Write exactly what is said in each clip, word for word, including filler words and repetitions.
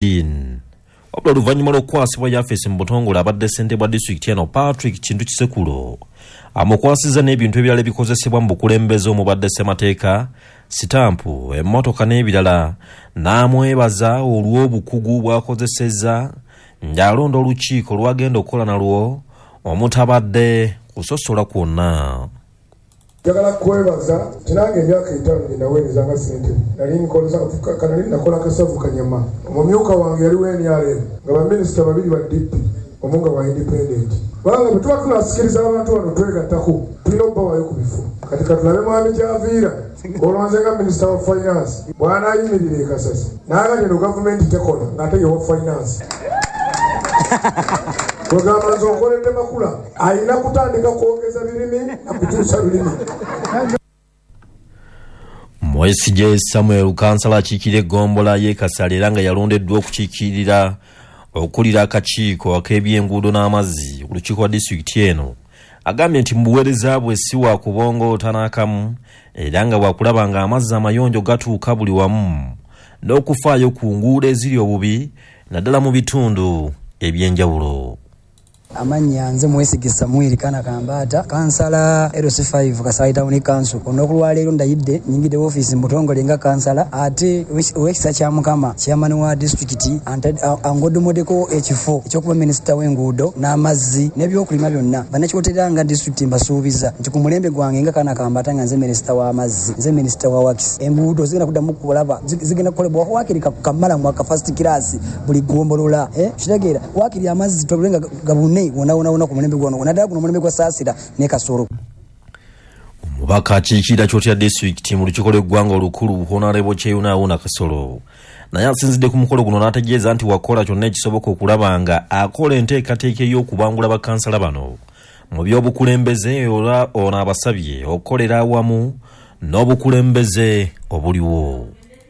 Dean. Wabula oluvannyuma lw'okukwasibwa yafeesi mu butongole, abadde ssentebe wa disitulikiti eno Patrick Kintu Kisekulo amukwasizza n'ebintu ebirala ebikozesebwa mu bukulembeze omubadde ssemateeka, sitampu, emmotoka n'ebirala, n'amwebaza olw'obukugu bw'akozesezza ng'alonda olukiiko lw'agenda okukola nalwo omutabadde kusosola kwonna. Njagala kwebaza nti nange emyaka etaano gye naweereza nga ssentebe nali nkoleza nali nakola kasavu kanyama. Omumyuka wange yali wa N R M, nga baminisita babiri ba D P, omu nga wa independent. Kubanga bwe tuba tunasikiriza abantu bano twegattako, tulina okubawaayo ku bifo. Kati katulabe mwami Kyaviira olwanze nga minisita wa finance bw'anaayimirira e Kasasi n'agamba eno gavumenti tekola ng'ate ye wa finance. Kwegamba nze okoledde makula alina kutandika kwongeza birimi nakukyusa lulimi. Mwesigye Samuel, kansala akiikirira eggombolola y'e Kasale era nga yalondeddwa okukiikirira okulira akakiiko ak'ebyenguudo n'amazzi ku lukiiko lwa disitulikiti eno, agambye nti mu buweereza bwe si wa kubongoota n'akamu era nga bwakulaba nga amazzi amayonjo gatuuka buli wamu n'okufaayo ku nguudo eziri obubi naddala mu bitundu ebyenjawulo. Amannya nze Mwesige Samuel Kana Kambaata, kansala L C five Kasaali Town Council. Olunaku lwaleero ndayidde, nyingidde ofiisi mu butongole nga kansala, ate olw'ekisa kya Mukama chairman wa disitulikiti angodomoddeko ekifo ekyokuba minisita w'enguudo n'amazzi n'ebyokulima byonna. Bannakyotera nga disitulikiti, mbasuubiza nti ku mulembe gwange nga Kana Kambaata, nga nze minisita w'amazzi, nze minisita wa works, enguudo zigenda kuddamu kulaba zigenda kukolebwa wakiri kamalamu aka first class buli gombolola. eh, kitegeera wakiri amazzi tobule nga gabune wona wona wona ku mulembe gwano, naddala guno omulembe gwa Saasira ne Kasolo. Omubaka akiikirira Kyotera disitulikiti mu lukiiko lw'eggwanga olukulu, Honorable Kyeyune Haruna Kasolo, naye asinzidde ku mukolo guno n'ategeeza nti wakola kyonna ekisoboka okulaba nga akola enteekateeka ey'okubangula bakansala bano mu by'obukulembeze, era ono abasabye okukolera awamu n'obukulembeze obuliwo.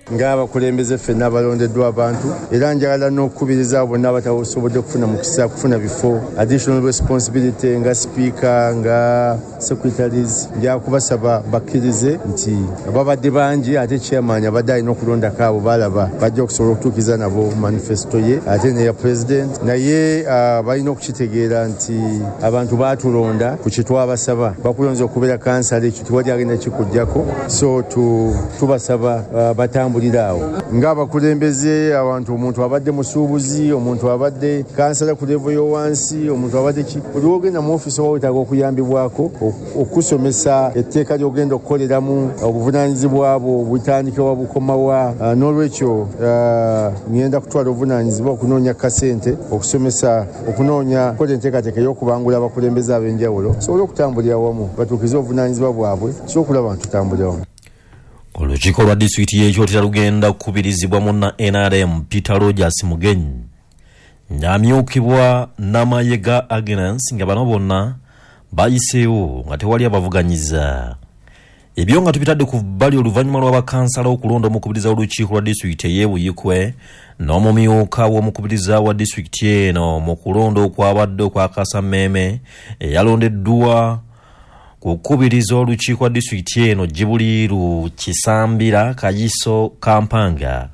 Ng'abakulembeze ffenna abalondeddwa abantu, era njagala n'okukubiriza abo bonna abatasobodde kufuna mukisa kufuna bifo, additional responsibility nga sipiika, nga secretaries, nja kubasaba bakkirize nti babadde bangi, ate chairman abadde alina okulondako abo balaba bajja okusobola okutuukiriza nabo manifesto ye ate neya president. Naye uh, balina okukitegeera nti abantu baatulonda ku kyetwabasaba. Bakulonze okubeera kansala, ekyo tewali agenda kikugjako. So tubasaba uh, batambulire awo ng'abakulembeze. Abantu, omuntu abadde musuubuzi, omuntu abadde kansala ku level y'owansi, omuntu abadde ki, buli wogenda mu ofiisi oba wetaaga okuyambibwako okusomesa etteeka ly'ogenda okukoleramu, obuvunaanyizibwa bwo butandikibwa bukomawa. N'olwekyo ngenda kutwala obuvunaanyizibwa okunoonya kasente okusomesa, okunoonya kukola enteekateeka ey'okubangula abakulembeze ab'enjawulo sobole okutambulira wamu batuukirize obuvunaanyizibwa bwabwe, so okulaba nti tutambulira wamu. Olukiiko lwa disitulikiti y'ekyotera lugenda kukubirizibwa munna N R M Peter Rogers Mugenyi, ng'amyukibwa Namayega Agnes, nga bano bonna bayiseewo nga tewali abavuganyiza. Ebyo nga tubitadde ku bbali, oluvannyuma lw'abakansala okulonda omukubiriza w'olukiiko lwa disitulikiti ey'ebuyikwe n'omumyuka w'omukubiriza wa disitulikiti eno mu kulonda okwabadde okwakasammeeme, eyalondeddwa kukubiriza olukiiko lwa disitulikiti eno Jibuliiru Kisambira Kayiso Kampanga,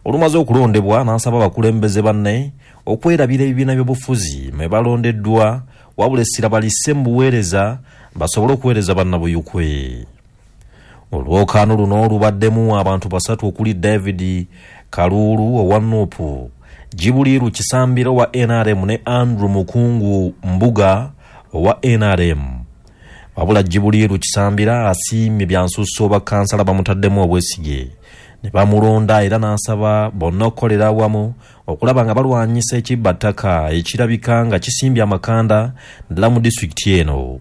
olumaze okulondebwa n'asaba abakulembeze banne okwerabira ebibiina by'obufuzi mwe balondeddwa, wabula essira balisse mu buweereza basobole okuweereza bannabuyukwe. Olwokaano luno lubaddemu abantu basatu okuli David Kaluulu owa N U P, Jibuliiru Kisambira owa N R M ne Andrew Mukungu Mbuga owa N R M. Wabula Jibuliiru Kisambira asiimye byansusso bakansala bamutaddemu obwesige ne bamulonda, era n'asaba bonna okukolera awamu okulaba nga balwanyisa ekibbattaka ekirabika nga kisimbye amakanda ddala mu disitulikiti eno.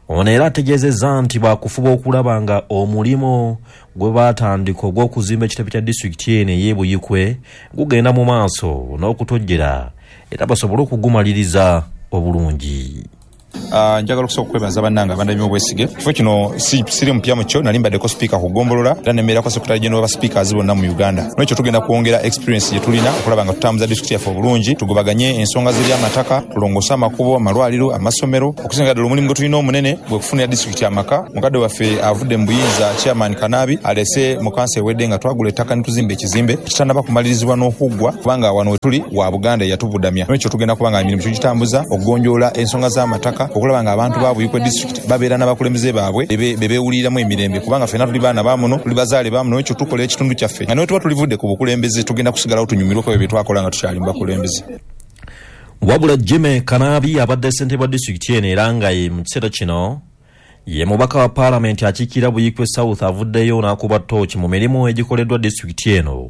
Ono era ategeezezza nti bakufuba okulaba nga omulimu gwe baatandika ogw'okuzimba ekitebe kya disitulikiti eno ey'ebuyikwe gugenda mu maaso n'okutojjera era basobole okugumaliriza obulungi. Uh, njagala okusooka okwebaza bannange abandabye obwesige. Kifo kino si, siri mupya mu kyo, nali mbaddeko sipiika ku ggombolola era nembeerako secretary general wa speakers bonna mu Uganda. N'ekyo tugenda kwongera experience gye tulina okulaba nga tutambuza disitulikiti yaffe obulungi, tugobaganye ensonga z'ebyamataka, tulongoose amakubo, amalwaliro, amasomero. Okusinga ddala omulimu gwe tulina omunene gwe kufunira disitulikiti amaka. Mukadde waffe avudde mu buyinza chairman Kanaabi alese mu kansa ewedde nga twagula ettaka ne tuzimba ekizimbe kitannaba kumalirizibwa n'okuggwa, kubanga wano we tuli wa Buganda eyatubudamya. N'ekyo tugenda kuba nga emirimu tugitambuza okugonjoola ensonga z'amataka, okulaba nga abantu ba Buikwe district babeera n'abakulembeze baabwe be beewuliramu emirembe, kubanga ffenna tuli baana ba muno, tuli bazaale ba muno. Ekyo tukola ekitundu kyaffe nga naye tuba tulivudde ku bukulembeze tugenda kusigalawo tunyumirweko ebyo bye twakola nga tukyali mu bakulembeze. Wabula Jimmy Kanaabi abadde ssentebe wa disitulikiti eno era nga ye mu kiseera kino ye mubaka wa paalamenti akiikirira Buikwe South avuddeyo n'akuba ttooki mu mirimu egikoleddwa disitulikiti eno,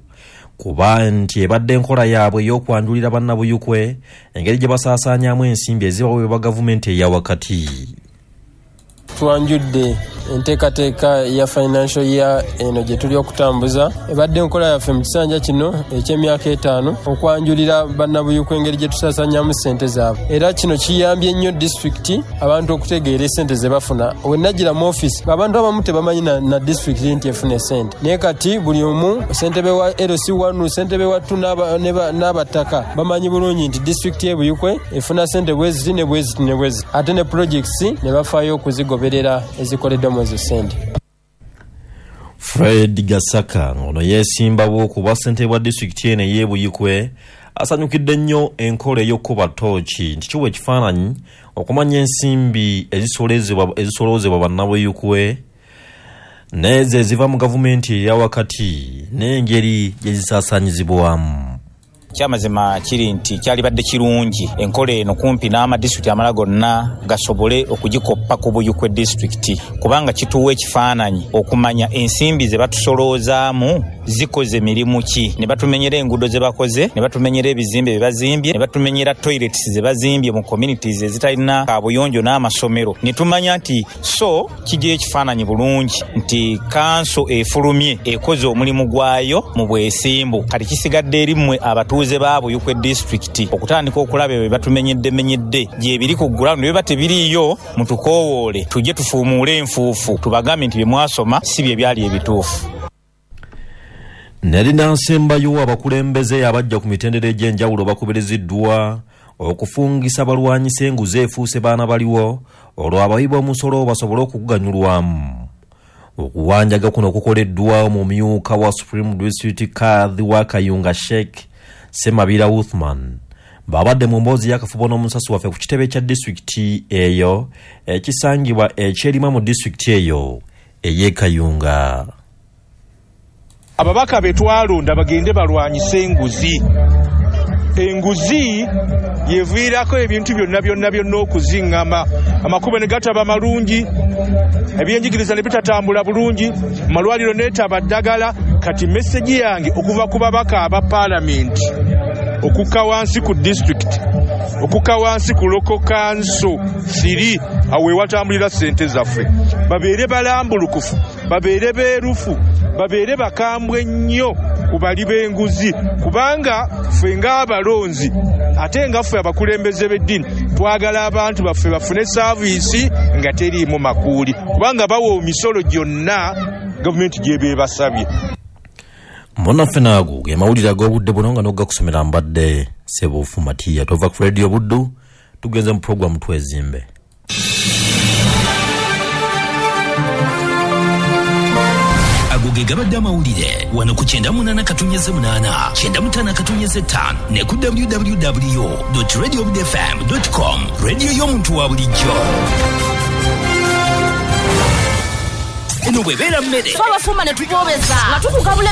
kuba nti ebadde enkola yaabwe ey'okwanjulira bannabuyukwe engeri gye basaasaanyaamu ensimbi ezibaweebwa gavumenti eya wakati. Twanjudde enteekateeka ya financial year eno gye tuli okutambuza. Ebadde enkola yaffe mu kisanja kino eky'emyaka etaano okwanjulira bannabuyukwe engeri gye tusaasaanyaamu ssente zaabwe, era kino kiyambye nnyo disitulikiti abantu okutegeera essente ze bafuna. We najjira mu ofiisi abantu abamu tebamanyi na, na disitulikiti nti efuna essente, naye kati buli omu ssentebe wa L C one, ssentebe wa two n'abataka bamanyi bulungi nti disitulikiti y'e Buikwe efuna ssente bwe ziti ne bwe ziti ne bwe ziti, ate ne projects ne bafaayo okuzigoberera ezikoleddwa mu ezo ssente. Fred Gasaka ono yeesimbawo okuba ssentebe wa disitulikiti eno ey'e Buikwe asanyukidde nnyo enkola ey'okukuba ttooki nti kiwa ekifaananyi okumanya ensimbi ezisoloozebwa bannabuyukwe n'ezo eziva mu gavumenti eya wakati n'engeri gye zisaasaanyizibwamu. Kyamazima kiri nti kyalibadde kirungi enkola eno kumpi n'amadisitulikiti amalala gonna gasobole okugikoppa ku Buikwe disitulikiti, kubanga kituwa ekifaananyi okumanya ensimbi ze batusoloozaamu zikoze mirimu ki, ne batumenyera enguudo ze bakoze, ne batumenyera ebizimbe bye bazimbye, ne batumenyera toilets ze bazimbye mu communities ezitalina kabuyonjo n'amasomero, ne tumanya nti so kijja ekifaananyi bulungi nti kanso efulumye ekoze omulimu gwayo mu bwesimbu. Kati kisigadde eri mmwe abatuuze ba Buikwe disitulikiti okutandika okulaba ebyo batumenyedde menyedde gye biri ku ground, biba tebiriiyo mutukoowoole tujje tufuumuule enfuufu tubagambe nti bye mwasoma si bye byali ebituufu. Nerinansembayo abakulembeze abajja ku mitendera egy'enjawulo bakubiriziddwa okufungisa balwanyisa enguzi efuuse baana baliwo olwo abawi b'omusolo basobole okuganyulwamu. Okuwanjaga kuno kukoleddwa omumyuka wa Supreme District Kadhi wa Kayunga Sheikh Semabira Uthman babadde mu mboozi y'akafubo n'omusasi waffe ku kitebe kya disitulikiti eyo ekisangibwa ekyerima mu disitulikiti eyo ey'e Kayunga. Ababaka be twalonda bagende balwanyise enguzi. Enguzi yeviirako ebintu byonna byonna byonna okuziŋŋama, amakubo ne gataba malungi, ebyenjigiriza ne bitatambula bulungi, amalwaliro neetaba ddagala. Kati meseji yange okuva ku babaka aba paalamenti okukka wansi ku disitulikiti, okukka wansi ku local council siri awo ewatambulira ssente zaffe, babeere balambulukufu, babeere beerufu, babeere bakambwe nnyo ku bali b'enguzi, kubanga ffe ng'abalonzi ate nga ffe abakulembeze b'eddiini twagala abantu baffe bafune saaviisi nga teriimu makuuli, kubanga bawa emisolo gyonna gavumenti gy'ebeebasabye. Munnaffe naago ge mawulire ag'obudde buno nga n'ogakusomera mbadde Sebuufu Matiya. Tova ku Radio Buddu tugenze mu puroguramu Twezimbe. Ago ge gabadde amawulire wano ku kyenda munaana katunyeze munaana kyenda mutaano katunyeze ttaano ne ku w w w dot radio buddu f m dot com. Radio y'omuntu wa bulijjo. Eno bw'ebeera mmere twabafumba ne tubobeza nga tukugabula.